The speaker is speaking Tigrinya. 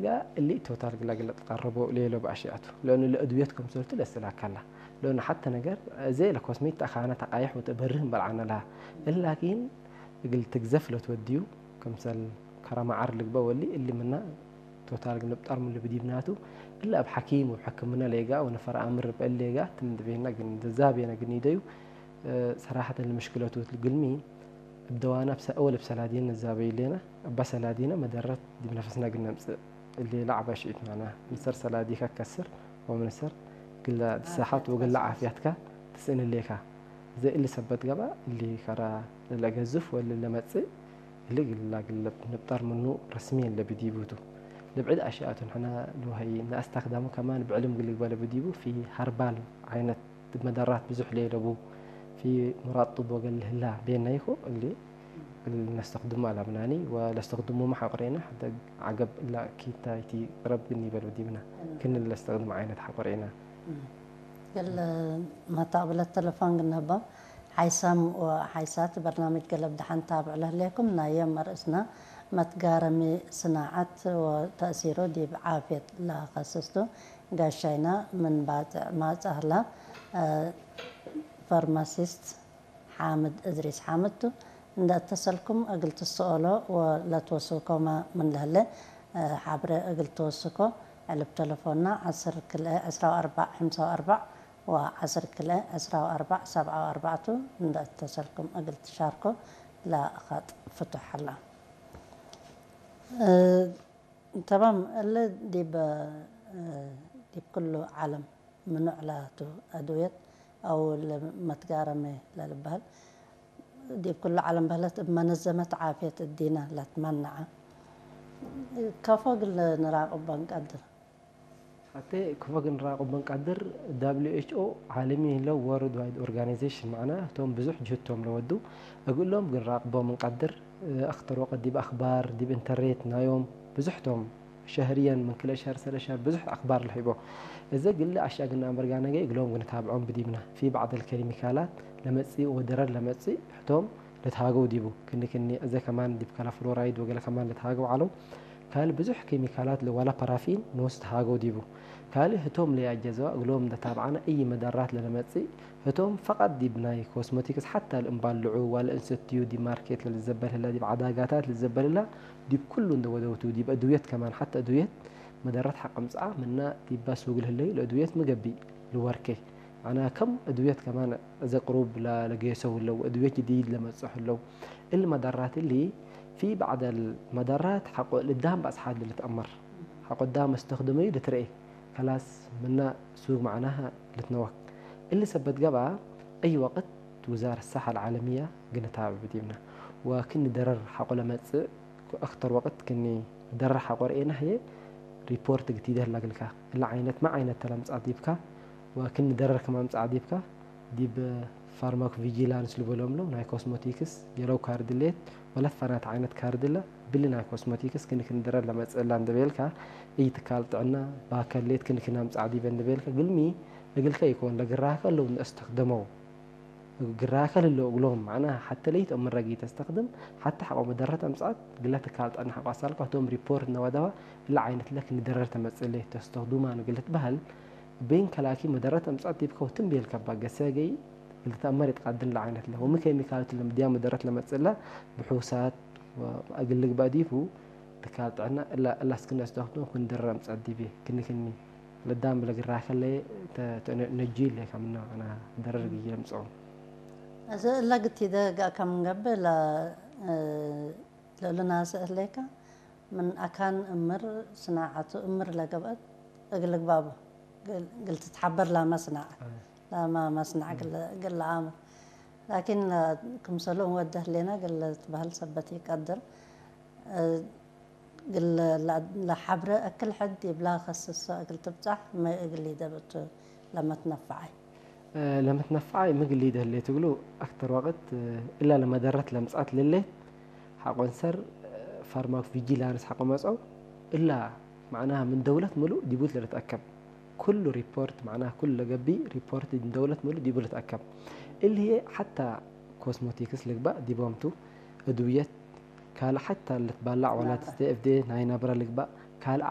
ጋ እሊ ቶታል ግላ ግላ ተቃረቦ ሌሎ ባሽያቱ ለኑ ለእድውየት ከም ሰልቱ ለስላካላ ለኑ ሓተ ነገር እዜ ለኮስሜት ተኻነ ተቃይሕ ወተበርህ በልዓነላ እላኪን እግል ትግዘፍ ለትወድዩ ከምሰል ከረማዓር ልግበ ወሊ እሊ ምና ቶታል ግንብጣር ምሉ ብዲብናቱ እላ ኣብ ሓኪም ወብ ሕክምና ሌጋ ወነፈር ኣምር በሌጋ ትምድቤና ግን ዘዛቤና ግን ይደዩ ሰራሐተን ለመሽክለቱ ግልሚ እብ ደዋና እብ ሰ- እወል እብ ሰላዲን ንዛበዩ ሌና እባ ሰላዲና መደረት ዲብ ነፈስና ግን ነምጽእ እሊ ለዓባ ሽዒት ማና ምንሰር ሰላዲካ ከስር ወምንሰር ግላ ድሳሓት ወግላ ዓፍያትካ ትስእን ሌካ ዘ እሊ ሰበት ገባ እሊ ከራ ለለገዝፍ ወለ ለመጽእ እሊ ግላ ግለ ንብጣር ምኑ ረስሚየን ለብዲቡቱ ልብዕድ ኣሽያቱ ንሕና ንወሀይ ንኣስታክዳሙ ከማን ብዕልም ግልግበለ ብዲቡ ፊ ሀርባል ዓይነት መደራት ብዙሕ ለየለቡ ፊ ሙራድ ጡብ ወገል ህላ ቤና ይኹ እሊ ነስተክድሙ ኣላምናኒ ወለስተክድሙ ማሓቁሬና ሕደ ዓገብ እላ ኪታ ይቲ ቅረብ ግን ይበል ብዲብና ክን ለስተክድሙ ዓይነት ሓቁሬና ገለ መታቕብለት ተለፎን ግንህቦም ሓይሳም ሓይሳት በርናምጅ ገለብ ድሓን ታብዕ ለህሌኩም ናዮም መርእስና መትጋረሚ ስናዓት ወተእሲሩ ዲብ ዓፍየት ለኸስስቱ ጋሻይና ምን ባጽዕ ማጻህላ ፋርማሲስት ሓምድ እድሪስ ሓምድ ቱ እንደ እተሰልኩም እግል ትስኦሎ ወለትወስኮማ ምን ለህለ ሓብረ እግል ትወስኮ ዕልብ ተለፎና ዓስር ክልኤ ዕስራ ወኣርባዕ ሕምሳ ወኣርባዕ ወዓስር ክልኤ ዕስራ ወኣርባዕ ሰብዓ ወኣርባዕቱ እንደ እተሰልኩም እግል ትሻርኮ ለኸጥ ፍቱሕ ኣላ። ተማም እለ ዲብ ዲብ ኩሉ ዓለም ምኑዕ ላቱ ኣድውየት ኣው ለመትጋረመ ለልበሃል ዲብ ኩሉ ዓለም በህለት እብ መነዘመት ዓፍየት እዲነ ለትመንዐ ከፎ ግል ንራቅቦ እንቀድር። ሓተ ክፎ ግን ራቅቦ እንቀድር W H O ዓለሚ ለው World Wide Organization ማዕና እቶም ብዙሕ ጅህቶም ለወዱ እግሎም ግን ራቅቦም እንቀድር ኣክተር ወቀት ዲብ ኣክባር ዲብ ኢንተርኔት ናዮም ብዙሕቶም ሸህርየን ምን ክልተ ሸህር ሰለስተ ሸህር ብዙሕ ኣክባር ለሂቦ እዘ ግለ ኣሻግና ኣምበርጋ ነገ እግሎም ግን ታብዖም ብዲብና ፊ ባዕደል ከሚካላት ለመጽእ ወደረር ለመጽእ ሕቶም ለትሃገው ዲቡ ክኒ ክኒ እዘ ከማን ዲብ ከላ ፍሎራይድ ወገለ ከማን ለትሃገው ዓለው ካል ብዙሕ ኬሚካላት ለዋላ ፓራፊን ንወስ ተሃገው ዲቡ ካል ህቶም ለያጀዘዋ እግሎም ለታብዓና እይ መደራት ለለመጽእ ህቶም ፈቃድ ዲብ ናይ ኮስሞቲክስ ሓታ ለእምባልዑ ዋለ እንሰትዩ ዲብ ማርኬት ለልዘበል ህላ ዲብ ዓዳጋታት ልዘበል ህላ ዲብ ኩሉ እንደ ወደውቱ ዲብ ኣድውየት ከማን ሓታ ኣድውየት መደረት ሓቀምጽኣ ምና ዲባ ሱግ ለህለዩ ለእድውየት ምገቢ ልወርኬ ኣና ከም እድውየት ከማን እዘ ቅሩብ ለጌሰው ለው እድውየት ጅዲድ ለመጽሑ ለው እል መደራት እሊ ፊ ባዕደል መደራት ሓቆ ልዳም ባጽሓት ልትአመር ሓቆ ዳም እስተኽድመዩ ልትረኤ ከላስ ምና ሱግ ማዕናሃ ልትነወክ እሊ ሰበት ገብኣ ኣይ ወቅት ውዛር ሳሓ ልዓለምያ ግንታብዕ ብዲብና ወክኒ ደረር ሓቆ ለመጽእ ኣክተር ወቅት ክኒ ደረር ሓቆ ርኤና ህየ ሪፖርት ግቲደ ህላ ግልካ እላ ዓይነት ማ ዓይነት ተለምጻት ዲብካ ወክኒ ደረር ከማምጻ ዲብካ ዲብ ፋርማኮ ቪጂላንስ ልበሎም ለው ናይ ኮስሞቲክስ የለው ካርድ ሌት ወለት ፋናት ዓይነት ካርድ ለ ብሊ ናይ ኮስሞቲክስ ክኒ ክኒ ደረር ለመጽእ እላ እንደበልካ እይ ትካል ጥዕና ባከሌት ክኒ ክኒ ኣምጻ ዲበ እንደበልካ ግልሚ እግልከ ይኮን ለግራከ ለው ንእስተክደመው ግራከ ልሎ እግሎም ማዕና ሓተ ለይት እምረጊ ተስተክድም ሓተ ሓቆ መደረት ኣምጻት ግለ ትካል ጥዕና ሓቋሳልካ ቶም ሪፖርት ነወደዋ እላ ዓይነት ለክ ንደረር ተመጽእ ለይት ተስተክዱማ ንግልት በህል ቤን ከላኪ መደረት ኣምጻት ዲብከው ትም ቤልከባ ገሰገይ ግልተኣመር ይትቃድን ለዓይነት ለ ወሚ ኬሚካል ትልምድያ መደረት ለመጽእላ ብሑሳት እግል ልግባእ ዲቡ ትካል ጥዕና እላ እላ እስክነ ስደክቱ ክንድረ ኣምጻት ዲቤ ክኒ ክኒ ለዳም ለግራከለ ነጂ ለ ከምና ኣና ደረር ግይ ለምጽኦ እዚ እላ ግቲደ ጋእ ከም ንገብእ ለእሉና ስእህሌካ ምን ኣካን እምር ስናዓቱ እምር ለገብአት እግል ልግባቡ ግል ትትሓበር ላማ ስናዓት ላማ መስናዕ ግል ለኣምር ላኪን ክምሰሉ እንወደ ህሌና ግል ትበህል ሰበት ይቀድር ግል ለሓብረ እክል ሕድ ይብላ ከስሶ እግል ትብጻሕ መ እግል ይደብእቱ ለመትነፈዓይ ለመትነፈዓይ ምግል ይደህሌ ትግሉ ኣክተር ወቅት እላ ለመደረት ለምጻት ልሌት ሓቆንሰር ፋርማኮ ቪጂላንስ ሓቆ መጸው እላ ማዕናሃ ምን ደውለት ምሉእ ዲቡት ለልትኣከብ ኩሉ ሪፖርት ማዕናሃ ኩሉ ለገቢ ሪፖርት ምን ደውለት ምሉእ ዲቡ ልትኣከብ እልየ ሓታ ኮስሞቲክስ ልግባእ ዲቦምቱ እድውየት ካልእ ሓታ ልትባላዕ ዋላ ትስተ ኤፍዴ ናይ ናብራ ልግባእ ካልእ